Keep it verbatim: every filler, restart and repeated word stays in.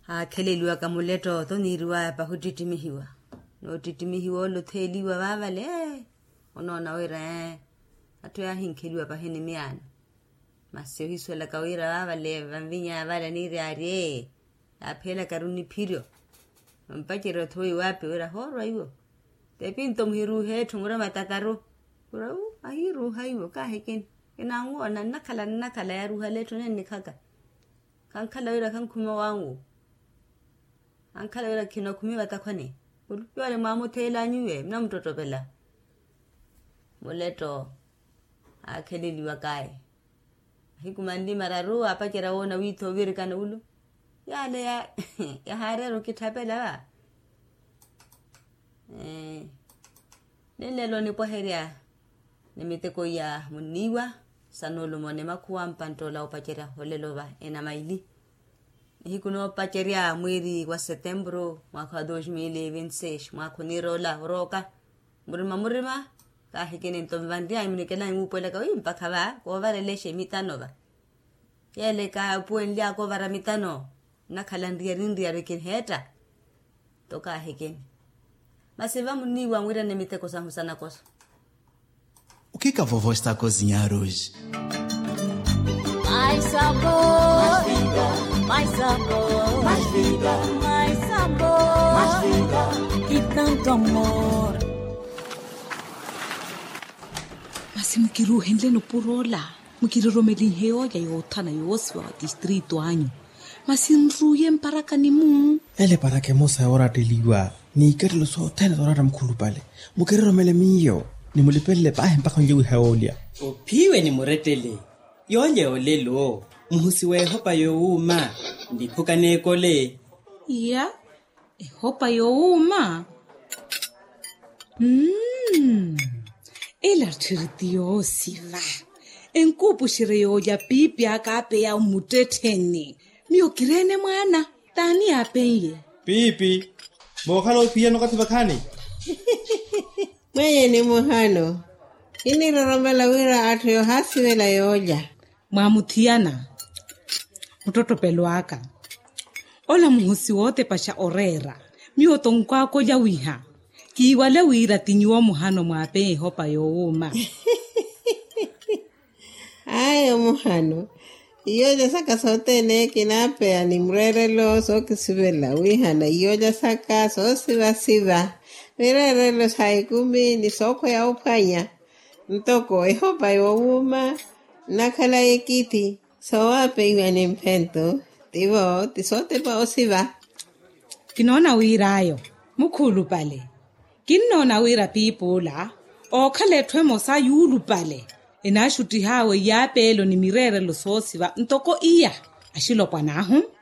Aakheleliwaka muletto tho niiriwaya pahi ottittimihiwa. N'ottittimihiwa ole otheeliwa vaavale. Onoona wira atthu yaahinkheliwa pahi ni miyaano. Masi ohisuwelaka wira vaavale vanvinyaya vale aniiri aarye. Yaapheelaka-ru niphiryo. Vampacerya othowa iwaapi wira hoorwa iwo. T'epinto muhiruuhe etthu murema takaru. Wira ahiruuha iwo kaahikini. Kinanwoona nnakhala nnakhala yaaruuha letthu nennikhaka. Khankhala wira khankhuma wanwu. Ankhala wira khinakhumi vatakhwani. Ulu yoole mwaamutheel'anyu iwe munamuttottopela. Muletto aakheleliwak'aye. Ahiku manli mararu aapacerya woona wiitha ovirikana ulu. Yaale yahaareera okitthapela va. Ninlelo nipwaherya ni miteko iya munniiwa. Sa nuulumoni makhuwa mpanttola opacerya olelo va enamaili. Nihiku noopacerya mwiiri wa setempuru mwaakha wa dos mil e vinti seis mwaakha oniira ola orooka. Murima murima kaahikini nto vanryanyu munikelaanyu wuupuwelaka wi mpakha va koovarelexa emitano va. Yeele kaapuwenly'aka ovara mitano nnakhala nriyari nriyari kiniheetta. Nto kaahikini masi va munniiwa mwirana emiteko sahu sanakoso. O kika vovo esta kozinyaruji? Mais sabor, mais sabor, mais vida, mais sabor, mais vida, e tanto amor. Masi mukiruuhenle nupuro ola mukiroromelinhe yoolya yoothana yoosiva wa tistritu anyu. Masi nruuye mparakani-mu. Ele paraka emosa yooratteliwa n'ikattelo sothene sooratta mukhulupale. Mukiroromele miyo ni mulipelele paahi mpakha onlye wiha yoolya. Ophiwe ni murettele yoolya yoolelo muhusi w'ehopa yoowuuma. Ndiphuka n'ekole. Iya. Ehopa yoowuuma. Mmm. Ela tthiri ti yoosiva. Enkuupuxerye yoolya piipi aka aapeya omuttettheni. Miyo kireene mwaana t'ani aapen'ye? Piipi. Mookhala ophiyana okathi vakhaani. Mwenyeni muhano. Kiniroromela wira atthu yoohaasivela yoolya. Mwaamuthiyana muttottopelo aka. Ola muhusi wootepaxa oreera. Miyo tonkwaakolya wiha kiiwale wira ti nyuwo muhano mwaapeya ehopa yoowuuma. Ayo muhano. Iyoolya saka sothene kinaapeya ni mureerelo sookisivela wihana iyoolya saka soosivasiva. Mireerelo sa ikumi ni sookhweya ophwanya. Ntoko ehopa yoowuuma nnakhala ekithi soowapeiwa ni mphento. Tivo ti sootepa osiva. Kinoona wir'ayo mukhulupale. Kinnoona wira piipi ola ookhala etthu emosa yuulupale. Enaaxuttih'awe iyaapeelo ni mireerelo soosiva ntoko iya. Axilopwana ahu.